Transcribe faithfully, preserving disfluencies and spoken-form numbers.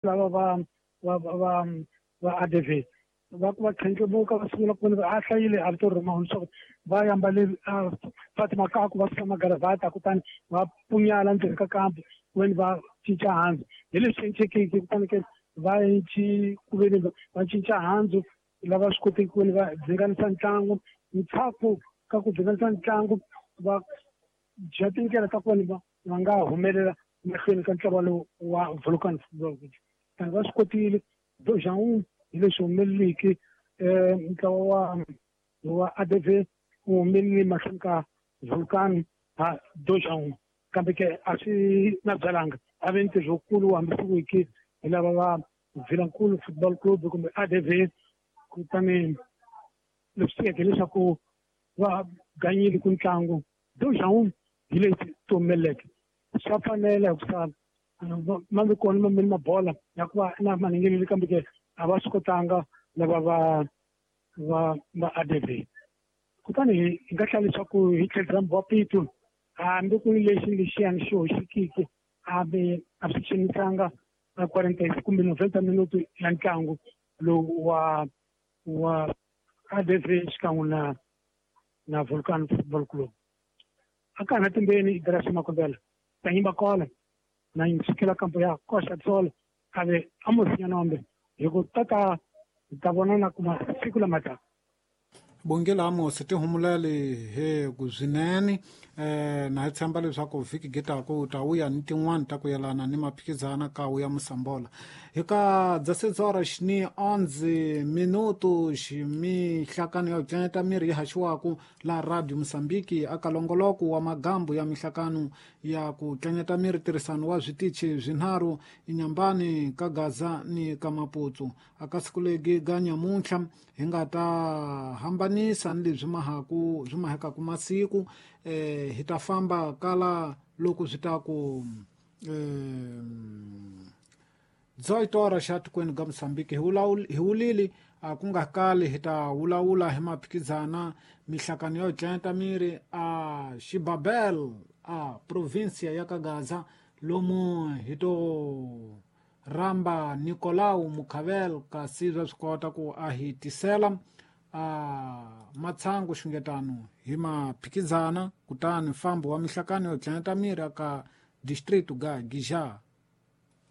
Lava va va va va A D V va ku va tlhandlemuka va sungula ku va a hlayile a vito rima leswaku va yambale Fatima Kaku va suka magaravata kutani va punyala ndzeni ka kampu veni va cinca handzu hi leswi cincekiki kutani ke va ci ku veni va cinca handzu lava swi koteki ku veni va dzinganisa ntlangu ntshaku ka ku dzinganisa ntlangu va dya tindlela ta ku veni va va nga humelela mahlweni ka ntlawa lowu wa Vulcan Football Club tani va swi kotile dojaun hi leswi humeleliki um ntlawa wa wa A D V wu humelele mahlweni ka Vulcan ha dojaun kambe ke a swi na byalanga a ve ntirho wukulu wu hambisiwiki hi lava va Vilankulu Football Club kumbe A D V kutani leswi tiveke leswaku va ganyile ku ntlangu dojaun hi leswi ti humeleleke swa fanela hikusa ma vi kona mambeni mabola ya ku va na manengeleli kambe ke a va swi kotanga lava va va va A D V kutani hi nga hlaya leswaku hi tlhelo ra Mbappé hambi ku ri lexi lexiyani xi hoxekiki hambi a swi xanisanga na quarante kumbe noventa minuto ya ntlangu lowu wa wa A D V xikan'we na na Vulcan Football Club a ka na timbeni Ibrahim Makombela tanyimba kola na yinsikela kampo ya koxa tsolo ave Amos Nyanombe hi ku tata ta vonana kuma siku lama taka. Bongela Amos ti humulele he ku swinene eh na hi tshemba leswaku vhiki gitako u ta vuya ni tin'wani ta ku yelana ni maphikizana ka wu ya Musambola hi ka dzasedzora xini onze minuto ximihlakano ya ku tlanyeta miri yi haxiwaku la Radio Mozambique aka longoloko wa magambo ya mihlakano ya ku tlanyeta miri tirhisano wa switichi swinharhu inyambani ka Gaza ni ka Maputo aka siku legi ga nyamuntlha hi nga ta hambanisa ni leswi mahaku swi mahekaku masiku eh hi ta famba kala loko swi ta ku eh dzoitora xa tikweni ga Mozambique hi hi wulili a ku nga kali hi ta wulawula hi maphikizana mihlakano yo tlanyeta miri a Xibabel a provincia ya ka Gaza lomu hi to ramba Nicolau Mukhavel kasi swa swi kota ku a hi tisela a matshangu xungetano hi maphikizana kutani mfambo wa mihlakano yo tlanyeta miri aka distrito ga Gija.